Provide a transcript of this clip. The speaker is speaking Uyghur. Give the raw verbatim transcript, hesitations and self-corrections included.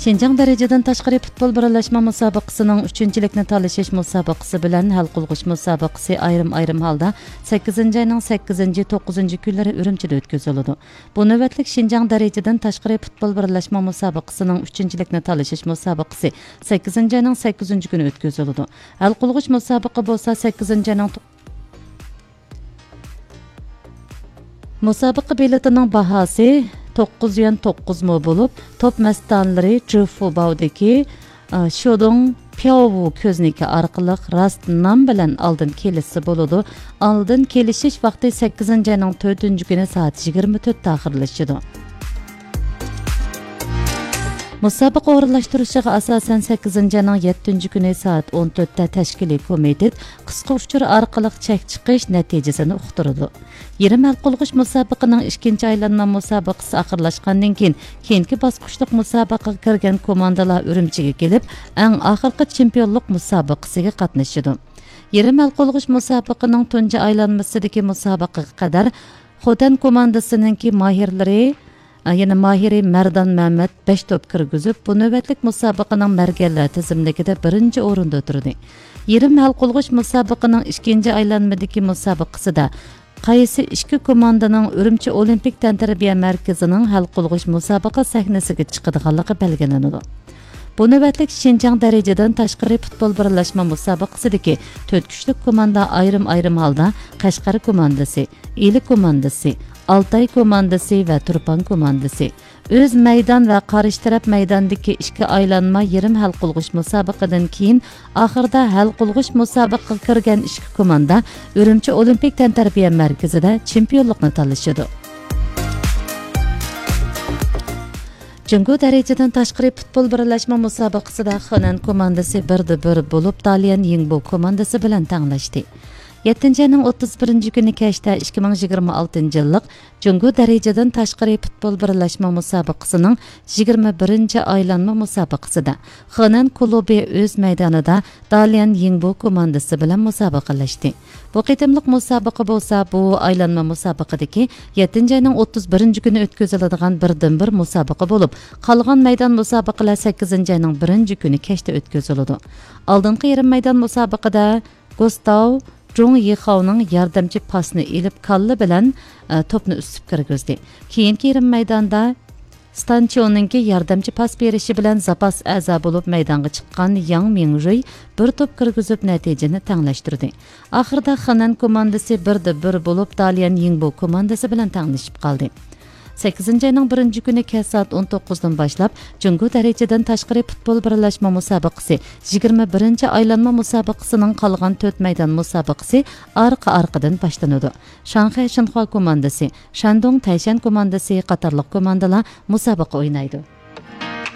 شىنجاڭ دەرىجىدىن تاشقىرى پۇتبول بىرلەشمە مۇسابىقىسىنىڭ ئۈچىنچىلىكنى تالىشىش مۇسابىقىسى بىلەن ھەل قىلغۇچ مۇسابىقىسى ئايرىم-ئايرىم ھالدا سەككىزىنچى ئاينىڭ سەككىزىنچى، توققۇزىنچى كۈنلىرى ئۈرۈمچىدە ئۆتكۈزۈلىدۇ. بۇ نۆۋەتلىك شىنجاڭ دەرىجىدىن تاشقىرى پۇتبول بىرلەشمە مۇسابىقىسىنىڭ ئۈچىنچىلىكنى تالىشىش مۇسابىقىسى سەككىزىنچى ئاينىڭ سەككىزىنچى كۈنى ئۆتكۈزۈلىدۇ. ھەل قىلغۇچ مۇسابىقە بولسا سەككىزىنچى ئاينىڭ مۇسابىقە بېلىتىنىڭ باھاسى توققۇز يۈەن توققۇز مو بولۇپ، توپ مەستانىلىرى جىفۇباۋدىكى، ئا، شودۇڭ پياۋۋۇ كۆزنىكى ئارقىلىق راست نام بىلەن ئالدىن كېلىشسە بولىدۇ. ئالدىن كېلىشىش ۋاقتى سەككىزىنچى ئاينىڭ تۆتىنچى كۈنى سائەت يىگىرمە تۆتتە ئاخىرلىشىدۇ. مۇسابىقە ئورۇنلاشتۇرۇشىغا ئاساسەن، سەككىزىنچى ئاينىڭ يەتتىنچى كۈنى سائەت ئون تۆتتە تەشكىلىي كومىتېت قىسقا ئۇچۇر ئارقىلىق چەك چىقىش نەتىجىسىنى ئۇقتۇرىدۇ. يېرىم ھەل قىلغۇچ مۇسابىقىنىڭ ئىككىنچى ئايلانما مۇسابىقىسى ئاخىرلاشقاندىن كېيىن، كېيىنكى باسقۇچلۇق مۇسابىقىگە كىرگەن كوماندىلار ئۈرۈمچىگە كېلىپ، ئەڭ ئاخىرقى چېمپىيونلۇق مۇسابىقىسىگە قاتنىشىدۇ. يېرىم ھەل قىلغۇچ مۇسابىقىنىڭ تۇنجى ئايلانمىسىدىكى مۇسابىقىگە قەدەر خوتەن كوماندىسىنىڭكى ماھىرلىرى، يەنى ماھىرى مەردان مەمەت بەش توپ كىرگۈزۈپ، بۇ نۆۋەتلىك مۇسابىقىنىڭ مەرگەنلەر تىزىملىكىدە بىرىنچى ئورۇندا تۇردى. يېرىم ھەل قىلغۇچ مۇسابىقىنىڭ ئىككىنچى ئايلانمىدىكى مۇسابىقىسىدە قايسى ئىككى كوماندىنىڭ ئۈرۈمچى ئولىمپىك تەنتەربىيە مەركىزىنىڭ ھەل قىلغۇچ مۇسابىقە سەھنىسىگە چىقىدىغانلىقى بەلگىلىنىدۇ. بۇ نۆۋەتلىك شىنجاڭ دەرىجىدىن تاشقىرى پۇتبول بىرلەشمە مۇسابىقىسىدىكى تۆت كۈچلۈك كوماندا ئايرىم-ئايرىم ھالدا قەشقەر كوماندىسى، ئىلى كوماندىسى، ئالتاي كوماندىسى ۋە تۇرپان كوماندىسى، ئۆز مەيدان ۋە قارشى تەرەپ مەيداندىكى ئىككى ئايلانما يېرىم ھەل قىلغۇچ مۇسابىقىدىن كېيىن، ئاخىرىدا ھەل قىلغۇچ مۇسابىقىگە كىرگەن ئىككى كوماندا ئۈرۈمچى ئولىمپىك تەنتەربىيە مەركىزىدە چېمپىيونلۇقنى تالىشىدۇ. جۇڭگو دەرىجىدىن تاشقىرى پۇتبول بىرلەشمە مۇسابىقىسىدە خېنەن كوماندىسى بىردە بىر بولۇپ، داليەن يىڭبو كوماندىسى بىلەن تەڭلەشتى. يەتتىنچى ئاينىڭ ئوتتۇز بىرىنچى كۈنى كەچتە ئىككى مىڭ يىگىرمە ئالتىنچى يىللىق جۇڭگو دەرىجىدىن تاشقىرى پۇتبول بىرلەشمە مۇسابىقىسىنىڭ يىگىرمە بىرىنچى ئايلانما مۇسابىقىسىدە خېنەن كۇلۇبى ئۆز مەيدانىدا داليەن يىڭبو كوماندىسى بىلەن مۇسابىقىلەشتى. بۇ قېتىملىق مۇسابىقە بولسا بۇ ئايلانما مۇسابىقىدىكى يەتتىنچى ئاينىڭ ئوتتۇز بىرىنچى كۈنى ئۆتكۈزۈلىدىغان بىردىنبىر مۇسابىقە بولۇپ، قالغان مەيدان مۇسابىقىلەر سەككىزىنچى ئاينىڭ بىرىنچى كۈنى كەچتە ئۆتكۈزۈلىدۇ. ئالدىنقى يېرىم مەيدان مۇسابىقىدە گۇستاۋ جۇڭ يىخاۋنىڭ ياردەمچى پاسىنى ئېلىپ، كاللا بىلەن، ئە، توپنى ئۈزۈپ كىرگۈزدى. كېيىنكى يېرىم مەيداندا ستانچيونىڭكى ياردەمچى پاس بېرىشى بىلەن زاپاس ئەزا بولۇپ مەيدانغا چىققان ياڭ مىڭرۇي بىر توپ كىرگۈزۈپ نەتىجىنى تەڭلەشتۈردى. ئاخىرىدا خېنەن كوماندىسى بىردە بىر بولۇپ، داليەن يىڭبو كوماندىسى بىلەن تەڭلىشىپ قالدى. سەككىزىنچى ئاينىڭ بىرىنچى كۈنى كەچ سائەت ئون توققۇزدىن باشلاپ، جۇڭگو دەرىجىدىن تاشقىرى پۇتبول بىرلەشمە مۇسابىقىسى يىگىرمە بىرىنچى ئايلانما مۇسابىقىسىنىڭ قالغان تۆت مەيدان مۇسابىقىسى ئارقا-ئارقىدىن باشلىنىدۇ. شاڭخەي شىنخۇا كوماندىسى، شەندۇڭ تەيشەن كوماندىسى قاتارلىق كوماندىلار مۇسابىقە ئوينايدۇ.